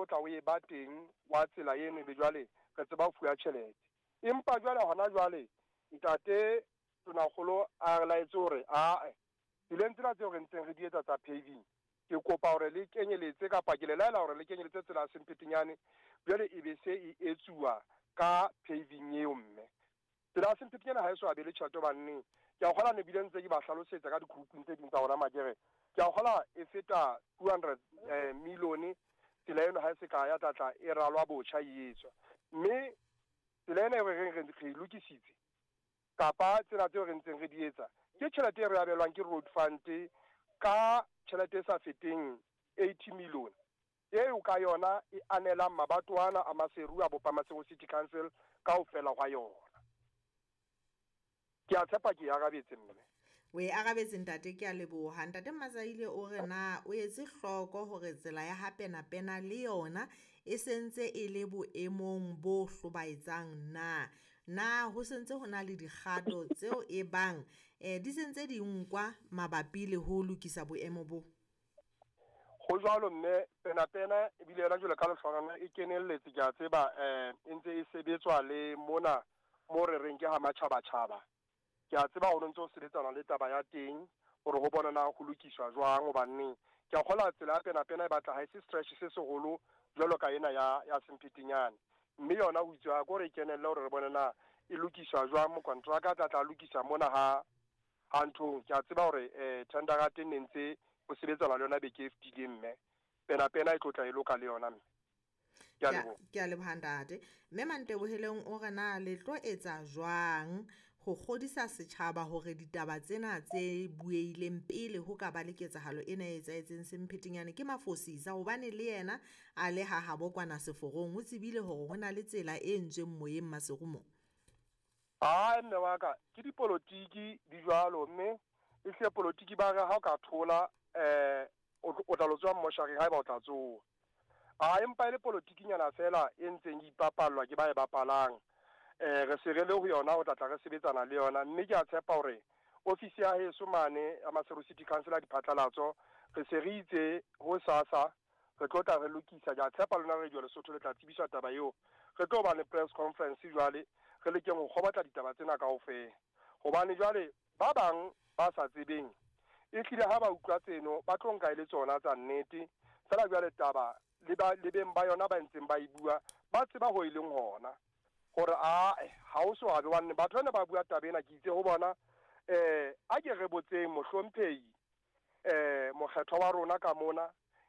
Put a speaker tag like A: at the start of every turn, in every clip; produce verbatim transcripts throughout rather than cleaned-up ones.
A: tlo tla o e ba teng wa tsela eno, be jwale re tseba ho fuwa tjhelete. Empa jwale hona jwale ntate Tonakgolo a re laetse hore ae tseleng tsena tseo re ntseng re di etsa tsa paving, ke kopa hore le kenyeletse kapa ke le laela hore le kenyeletse tsela ya Sempetenyane, jwale e be se e etsuwa ka paving eo mme. Tsela ya Sempetenyane ha e so abele tjhelete hobane ke a kgola ne bile ntse ke ba hlalosetsa ka di-grouping tse ding tsa rona makere. Ke a kgola e feta two hundred eh, million tsela eno ha e se ka ya tlatla e ralwa botjha e etswa. Mme tsela ena e re reng re e lokisitse kapa tsela tseo re ntseng re di etsa ke tjhelete e re abelwang ke road fund ka tjhelete e sa feteng eighty million eo ka yona e anelang mabatoana a Maseru a bopa Maseru City Council kaofela hwa yona. Ke a tshepa ke e arabetse mme.
B: O e arabetse ntate, ke a leboha. Ntate Mazaile o re na o etse hloko hore tsela ya ha Penapena le yona e sentse e le boemong bo hlobaetsang na? Na ho sentse ho na le dikgato tseo e bang eh di sentse di nkwa mabapi le ho lokisa boemo bo?
A: Ho jwalo mme, Penapena ebile yona jwalo ka lehlonana e kenelletse, ke a tseba eh e ntse e sebetswa le mona mo re reng ke ha matjhabatjhaba. Ke a tseba hore ntse ho sebetsana le taba ya teng hore ho bona na ho lokiswa jwang, hobane ke a kgola tsela ya Penapena e batla ha e se stretch se seholo jwalo ka ena ya ya Sempetenyane. Mme yona ho itswe ko re kenelle hore re bone na e lokiswa jwang, mokontraka a tla tla lokisa mona ha ha nthong. Ke a tseba hore eh tender ya teng ne ntse ho sebetsana le yona beke e fetileng mme Penapena e tlo tla e loka le yona mme. Ke a leboha.
B: Ke a leboha ntate. Mme Manteboheleng o re na le tlo etsa jwang ho kgodisa setjhaba hore ditaba tsena tse bueileng pele ho ka ba le ketsahalo ena e etsahetseng Sempetenyane ke mafosisa, hobane le yena a le ha habo kwana seforong o tsebile hore ho na le tsela e entsweng moyeng Maseru mo?
A: Ai mme wa ka, ke dipolotiki di jwalo mme e hle polotiki ba re ha o ka thola eh o tla lo tswa mmoshari haeba o tla tsoha. A empa e le polotikinyana fela e ntseng e ipapallwa ke ba e bapalang. Eh re se re le ho yona, o tla tla re sebetsana le yona. Mme ke a tshepa hore ofisi ya heso mane ya Maseru City Council ya diphatlalatso re se re itse ho sasa re tlo tla re lokisa. Ke a tshepa lona Radio Lesotho le tla tsebiswa taba eo. Re tlo ba le press conference jwale re lekeng ho kgobatla ditaba tsena kaofela, hobane jwale ba bang ba sa tsebeng e hlile ha ba utlwa tseno ba tlo nka e le tsona tsa nnete fela. Jwale taba le ba le beng ba yona ba ntseng ba e bua ba tseba ho e leng hona hore a ha o so abe wanne batho bana ba bua taba ena. Ke itse ho bona eh a ke re botseng mohlomphehi eh mokgethwa wa rona ka mona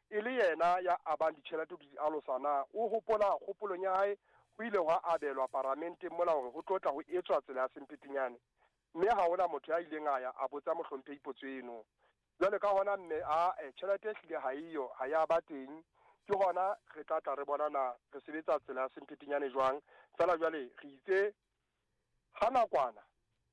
A: e le yena ya abang ditjhelete di alosana, o hopola kgopolong ya hae ho ile hwa abelwa paramenteng mola hore ho tlotla ho etswa tsela ya Sempetenyane, mme ha hona motho ya ileng a ya a botsa mohlomphehi potso eno. Jwale ka hona mme a tjhelete e hlile ha eyo, ha ya ba teng. Ke hona re tla tla re bona na re sebetsa tsela ya Sempetenyane jwang. Fela jwale re itse ha nakwana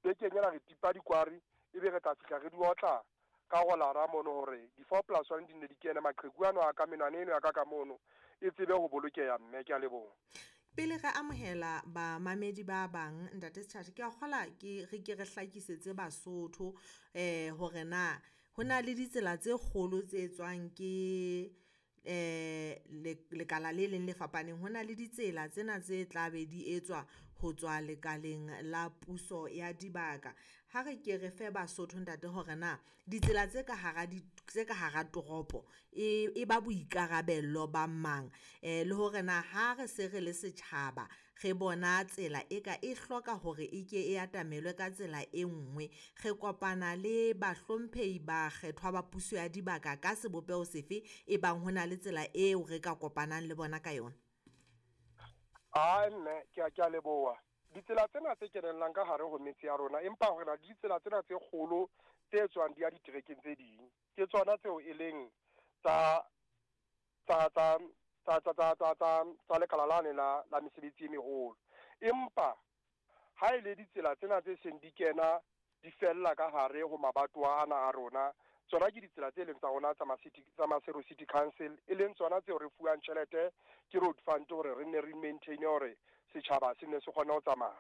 A: bekeng ena re tipa dikwari, ebe re tla fihla re di otla ka go lara mono hore di four plus one di ne di kene maqheku ano a ka menwana eno ya ka ka mono e tsebe ho bolokeha mme. Ke a leboha.
B: Pele re amohela bamamedi ba bang ntate Setjhatjhe, ke a kgola ke re ke re hlakisetse Basotho eh hore na ho na le ditsela tse kgolo tse etswang ke eh lekala le leng le fapaneng. Ho na le ditsela tsena tse tla be di etswa ho tswa lekaleng la puso ya dibaka. Ha re ke re fe Basotho ntate hore na ditsela tse ka hara di tse ka hara toropo e e ba boikarabello ba mang, eh le hore na ha re se re le setjhaba re bona tsela e ka e hloka hore e ke e atamelwe ka tsela e nngwe, re kopana le bahlomphehi ba kgethwa ba puso ya dibaka ka sebopeho sefe e bang ho na le tsela eo re ka kopanang le bona ka yona?
A: Ai mme, ke a ke a leboha. Ditsela tsena tse kenellang ka hare ho metse ya rona, empa hore na ditsela tsena tse kgolo tse tswang di ya diterekeng tse ding ke tsona tseo e leng tsa tsa tsa tsa tsa tsa tsa tsa tsa lekala lane la la mesebetsi e meholo. Empa ha e le ditsela tsena tse seng di kena di fella ka hare ho mabatowa ana a rona, tsona ke ditsela tse leng tsa rona tsa City tsa Maseru City Council, e leng tsona tseo re fuwang tjhelete ke road fund hore re nne re maintain hore setjhaba se nne se kgone ho tsamaya.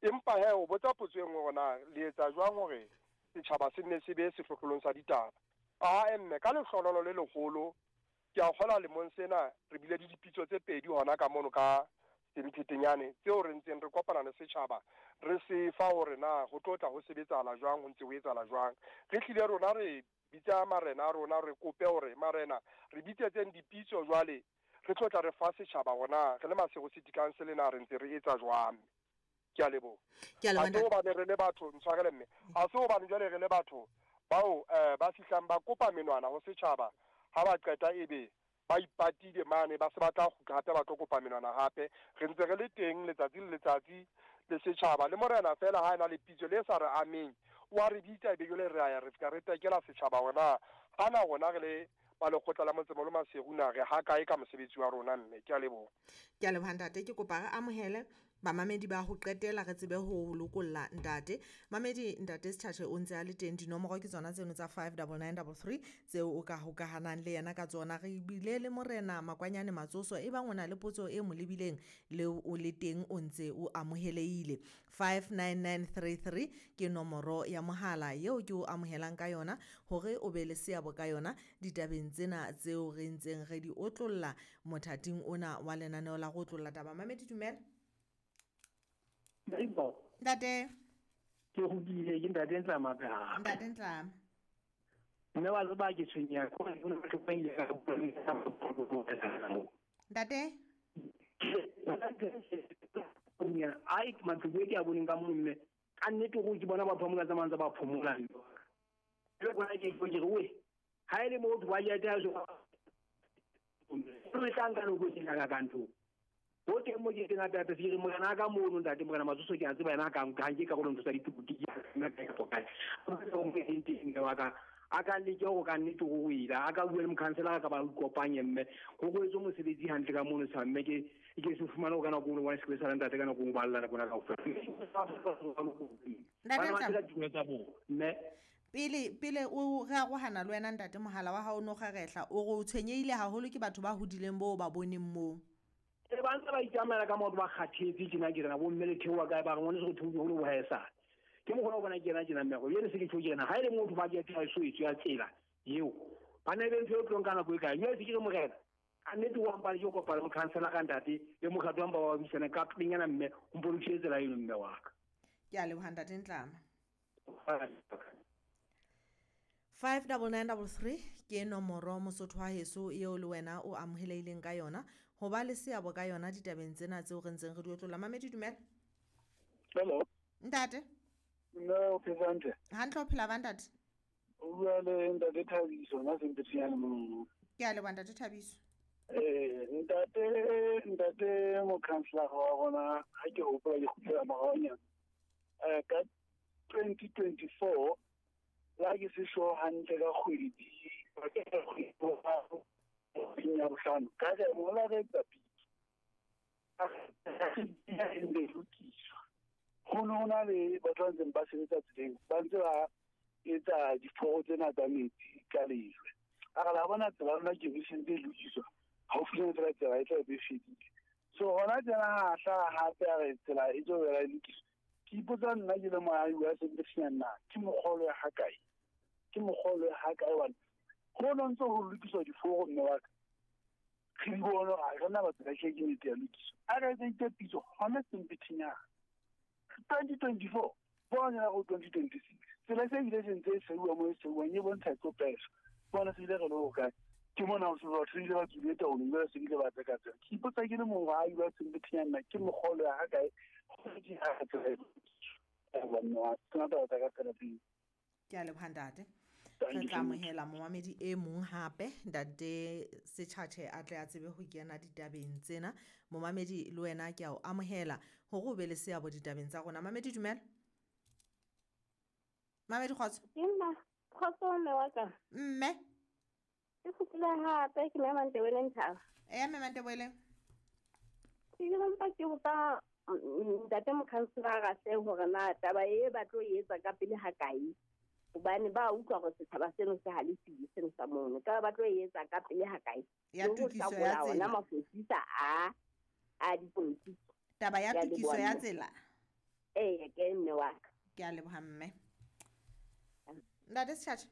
A: Empa he o botsa potso e nngwe hore na le etsa jwang hore setjhaba se nne se be sehlohlolong sa ditaba. A mme ka lehlohonolo le leholo Ke a kgola lemong sena re bile le dipitso tse pedi hona ka mono ka Sempetenyane tseo re ntseng re kopana le setjhaba re se fa hore na ho tlo tla ho sebetsahala jwang, ho ntse ho etsahala jwang. Re hlile rona re bitsa marena a rona, re kope hore marena re bitsetseng dipitso jwale re tlo tla re fa setjhaba hore re le Maseru City Council na re ntse re etsa jwang. Ke a leboha.
B: Ke a leboha
A: Ha se hobane re le batho, ntshwarele mme, ha se hobane jwale re le batho bao eh, ba fihlang ba kopa menwana ho setjhaba, ha ba qeta ebe ba ipatile mane, ba se ba tla kgutla hape ba tlo kopa menwana hape. Re ntse re le teng letsatsi le letsatsi le setjhaba, le morena fela ha ena le pitso le sa re ameng wa re bitsa, ebe jwale re a ya re fihla re tekela setjhaba hore na hana rona re le ba lekgotla la motsemoholo Maseru na re ha kae ka mosebetsi wa rona mme. Ke a leboha.
B: Ke a leboha ntate. Ke kopa re amohele bamamedi ba ho qetela re tsebe ho lokolla ntate. Mamedi, ntate Setjhatjhe o ntse a le teng. Dinomoro ke tsona tseno tsa five double nine double three tseo o ka hokahanang le yena ka tsona. Re bile le morena Makwanyane Matsoso, e bang o na le potso e mo lebileng le o le teng o ntse o amohelehile. five nine nine three three ke nomoro ya mohala eo ke o amohelang ka yona hore o be le seabo ka yona ditabeng tsena tseo re ntseng re di otlolla mothating ona wa lenaneo la go otlolla taba. Mamedi, dumela. Ntate.
C: Ke kgutlile, ke ntate Ntlama hape hape.
B: Ntate Ntlama.
C: Mme wa tseba ke tshwenyeha ke hore hona le ba ile ka
B: Ntate.
C: Ai, matloko e ke a boneng ka mono mme, ka nnete go ke bona batho ba mo ka tsamayang tsa ba phomola. Jwale bona ke ke re we, ha e le motho wa ya so re tla nka nako e ka ka ntho. Ho teng mo ke teng hape hape se ke re morena a ka mono ntate morena Matsoso ke a tseba yena a ka nka nke karolo ntho tsa dipolotiki nna kae kapa kae. Wa ka a ka leke hore ka nnete ho ila a ka bua le mokhanselara ka ba ikopanye mme ho go etswe mosebetsi hantle ka mono sa mme ke ke se fumane ho ka nako e nngwe se sa ntate ka nako e nngwe ba lla nako kaofela.
B: Ntate
C: Ba
B: Ntlama.
C: tla dithunya tsa bona mme
B: Pele pele o re arohana le wena ntate, mohala wa hao o no kgarehla, o re o tshwenyehile haholo ke batho ba hodileng boo ba boneng moo.
C: E ba ntse ba itsamaela ka maoto ba kgathetse tjena ke rena bo mme le theoha kae ba re ngwaneso re theohile ho le bohaesale. Ke mokgwa o bona ke yena tjena mme go jwale se ke tjho ke rena ha e le motho ba ke ya so etswe ya tsela eo ba ne be ntho e tlong ka nako e kae. Jwale se ke re morena ka nnete wa mpale ke kopana le mokhansela ka ntate le mokgatlo wa mpa wa buisana ka pelenyana mme o mpolokise tsela eno mme wa ka.
B: Ke a leboha ntate Ntlama. five double nine double three ke nomoro Mosotho wa heso eo le wena o amohelehileng ka yona ho ba le seabo ka yona ditabeng tsena tseo re ntseng re di otlolla. Mamedi, dumela.
D: Hello.
B: Ntate.
D: Nna o phetse hantle?
B: Hantle, o phela ba ntate?
D: O bua le ntate Thabiso nna Sempetenyane mono.
B: Ke a leboha ntate Thabiso.
D: Eh, ntate, ntate mokhanselara wa rona ha ke hopola ke kgutlela moraonyana. Eh, ka twenty twenty-four la ke se sure hantle ka kgwedi di ka kgwedi ya bohlano ka re mola re etsa pitso. A e lokiswa. Ho ne ho na le batho ba ntseng ba sebetsa tseleng, ba ntse ba etsa diforo tsena tsa metsi ka lejwe. A re la bona tsela ya rona ke e sentse e lokiswa, haufinyane fela tsela e tla be e fedile. So hona tjena ha hlaha hape a re tsela e tlo boela e lokiswa. Ke ipotsa nna ke le moahi wa Sempetenyane na ke mokgolo ya ha kae? Ke mokgolo ya ha kae hobane ho no ntse ho lokiswa diforo mme wa ka. Re di bone hore ha re na batho ba tjhe ke nnete ya lokiswa. A re etse pitso hona Sempetenyane. twenty twenty-four, bona ya go twenty twenty-six. Tsela se ile se ntse e seuwa mo e seuwang e bontsha e tlo peswa. Bona se ile re le ho kae? Ke mona ho se batho ile ba tswile taolong, jwale se bile ba tseka tsela. Ke ipotsa ke le moahi wa Sempetenyane na ke mokgolo ya ha kae? Ho di ha tsela e lokiswa. Ba nna, ke na taba tsa ka tsela pele.
B: Ke a leboha ntate.
D: Thank
B: Re
D: you
B: tla
D: so much.
B: amohela momamedi e mong hape ntate Setjhatjhe a tle a tsebe ho kena ditabeng tsena. Momamedi le wena ke a o amohela hore o be le seabo ditabeng tsa rona. Mamedi, dumela. Mamedi, kgotso.
E: Ke nna, kgotso mme wa ka.
B: Mme.
E: Ke kgutlile hape ke mme Mantebele Nthaba.
B: Eya, mme Mantebele.
E: Ke ile mpa ke botsa ntate mokhanselara hle hore na taba e ba tlo e etsa ka pele ha kae? Hobane ba utlwa hore setjhaba seno se halefile seno sa mono. Ka ba tlo e etsa ka pele ha kae?
B: Ya
E: Le ho
B: tokiso ya
E: hlakola ona
B: tsela.
E: mafosisa a, a dipolotiki.
B: Taba ya
E: Ke a
B: tokiso
E: leboha
B: ya
E: mme.
B: tsela.
E: Eya, ke mme wa ka.
B: Ke a leboha mme. Ntate Setjhatjhe.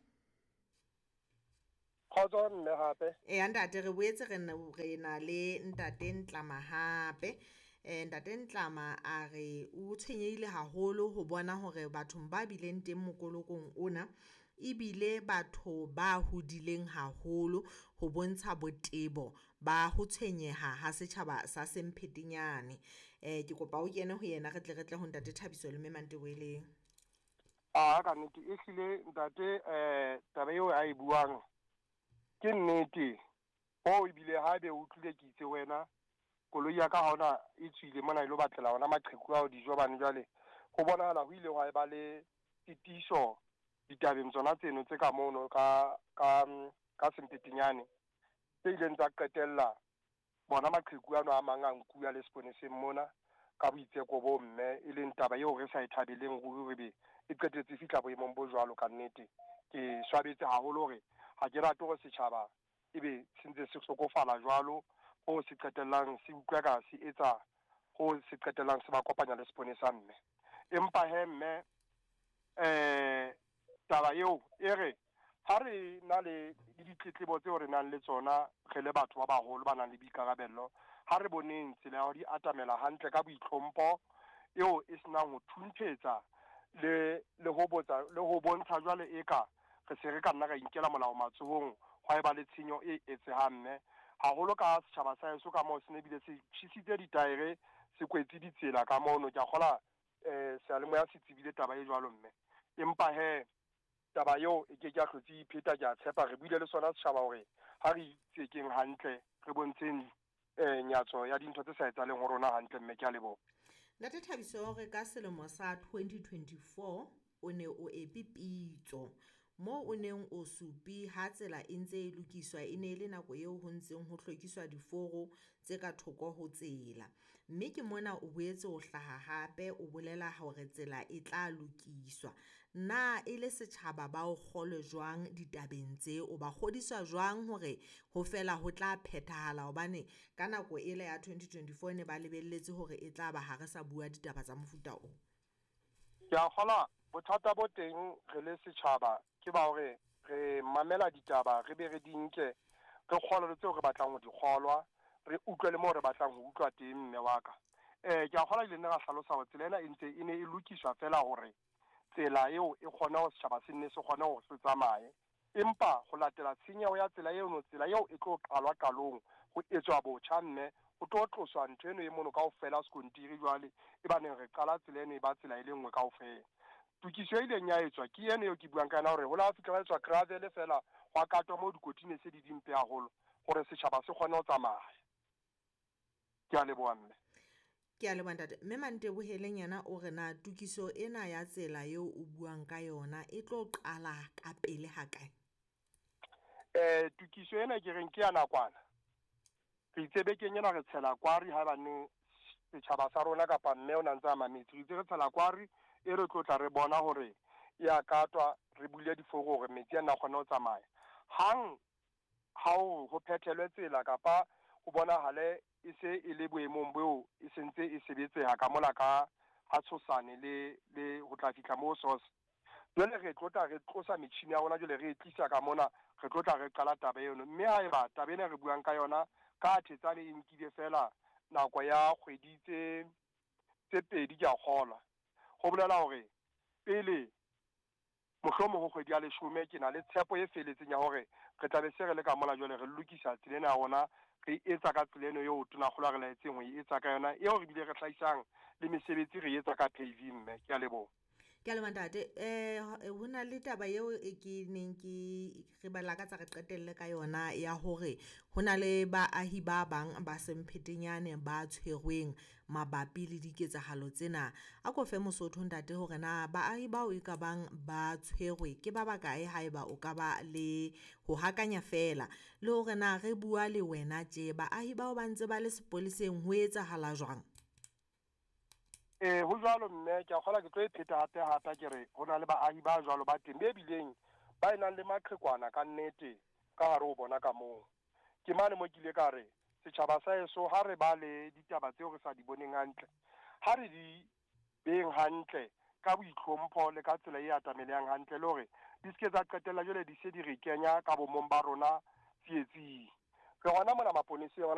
A: Kgotso mme hape.
B: Eya ntate, re boetse re na re na le ntate Ntlama hape. Eh ntate Ntlama a re o tshwenyehile haholo ho bona hore bathong ba bileng teng mokolokong ona ebile batho ba hodileng haholo ho bontsha botebo ba ho tshwenyeha ha setjhaba sa Semphetenyane. Eh ke kopa o kene ho yena re tle re tle ho ntate Thabiso le mme Manteboeleng.
A: A ka nnete ehlile ntate eh taba eo a e buang ke nnete. Ho ebile ha be o utlwile ke itse wena koloi ya ka ha ona e tswile mona e lo batlela ona maqheku ao dijo bane jwale ho bonahala ho ile hwa ba le titiso ditabeng tsona tseno tse ka mono ka ka ka Semphetenyane tse ileng tsa qetella bona maqheku ano a mang a nkuwa le seponeseng mona ka boitseko bo mme, e leng taba eo re sa e thabeleng ruri re be e qetetse fihla boemong bo jwalo. Ka nnete ke swabetse haholo hore ha ke rate hore setjhaba ebe se ntse se hlokofala jwalo ho se qetellang se utlwa ka se etsa ho se qetellang se ba kopanya le seponesa mme. Empa he mme eh taba eo e re ha re na le ditletlebo tseo re nang le tsona re le batho ba baholo ba nang le boikarabello, ha re boneng tsela ya ho di atamela hantle ka boitlhompho eo e senang ho thunthetsa le le ho botsa le ho bontsha jwale eka re se re ka nna ra inkela molao matsohong hwa eba le tshenyo e etsehang mme. Haholo ka setjhaba sa heso ka moo se ne bile se tjhisitse ditaere se kwetse ditsela ka mono. Ke a kgola eh seyalemoya se tsebile taba e jwalo mme. Empa he taba eo e ke ke a hlotse ipheta, ke a tshepa re buile le sona setjhaba hore ha re itsekeng hantle re bontsheng eh nyatso ya dintho tse sa etsahaleng ho rona hantle mme. Ke a leboha.
B: Ntate Thabiso, re ka selemo sa twenty twenty-four o ne o epe pitso moo o neng o supi ha tsela e ntse e lokiswa, e ne e le nako eo ho ntseng ho hlwekiswa diforo tse ka thoko ho tsela. Mme ke mona o boetse o hlaha hape o bolela hore tsela e tla lokiswa. Na e le setjhaba ba o kgolwe jwang ditabeng tse? O ba kgodiswa jwang hore ho fela ho tla phethahala? Hobane ka nako ele ya twenty twenty-four ne ba lebelletse hore e tla ba ha re sa bua ditaba tsa mofuta o.
A: Ke a kgolwa bothata bo teng re le setjhaba ke ba hore re mamela ditaba re be re di nke re kgolwe le tseo re batlang ho di kgolwa, re utlwe le moo re batlang ho utlwa teng mme wa ka. Eh ke a kgolwa ile nna ra hlalosa hore tsela ena e ntse e ne e lokiswa fela hore tsela eo e kgone ho setjhaba se nne se kgone hore se tsamaye. Empa ho latela tshenyeho ya tsela eno, tsela eo e tlo qalwa qalong ho etswa botjha mme ho tlo tloswa ntho eno e mono kaofela sekontiri jwale e baneng re qala tsela eno e ba tsela e le nngwe kaofela. Tokiso e ileng ya etswa ke eno eo ke buang ka yona hore ho la fihla ba etswa gravel fela hwa katwa moo dikoti ne se di dimpe haholo hore setjhaba se kgone ho tsamaya. Ke a leboha mme.
B: Ke a leboha ntate. Mme Manteboheleng yena o re na tokiso ena ya tsela eo o buang ka yona e tlo qala ka pele ha kae?
A: Eh tokiso ena ke reng ke ya nakwana. Re itse bekeng ena re tshela kwari ha bane setjhaba sa rona kapa mme o na ntse a mametse. Re itse re tshela kwari e re tlo tla re bona hore ya katwa re bule diforo hore metsi a nna kgone ho tsamaya. Hang ha ho ho phethelwe tsela kapa ho bonahale e se e le boemong boo e sentse e sebetseha ka mola ka ha tshosane le le ho tla fihla moo source. Jwale re tlo tla re tlosa metjhini ya rona jwale re e tlisa ka mona re tlo tla re qala taba eno. Mme haeba taba ena re buang ka yona ka Thetsane e nkile fela nako ya kgwedi tse tse pedi ke a kgolwa. Ho bolela hore pele mohlomong ho kgwedi ya leshome ke na le tshepo e feletseng ya hore re tla be se re le ka mola jwale re lokisa tsela ena ya rona re etsa ka tsela eno eo tonakgolo a re laetseng ho e etsa ka yona eo re bile re hlahisang le mesebetsi re etsa ka paving mme. Ke a leboha.
B: Ke a leboha ntate. Eh ho na le taba eo e ke neng ke re ba lakatsa re qetelle ka yona ya hore ho na le baahi ba bang ba Semphetenyane ba tshwerweng mabapi le diketsahalo tsena. A ko fe Mosotho ntate hore na baahi bao e ka bang ba tshwerwe ke ba bakae haeba o ka ba le ho hakanya fela, le hore na re bua le wena tje baahi bao ba ntse ba le sepoleseng ho etsahala jwang?
A: Eh ho jwalo mme, ke a kgolwa ke tlo e pheta hape hape ke re ho na le baahi ba jwalo ba teng be bileng ba e nang le maqhekwana ka nnete ka hare ho bona ka moo. Ke mane mo ke ile ka re setjhaba sa heso ha re ba le ditaba tseo re sa di boneng hantle, ha re di beng hantle ka boitlhompho le ka tsela e atamelehang hantle le hore Di se ke tsa qetella jwale di se di re kenya ka bomong ba rona tsietsing. Re hona mona maponeseng hona.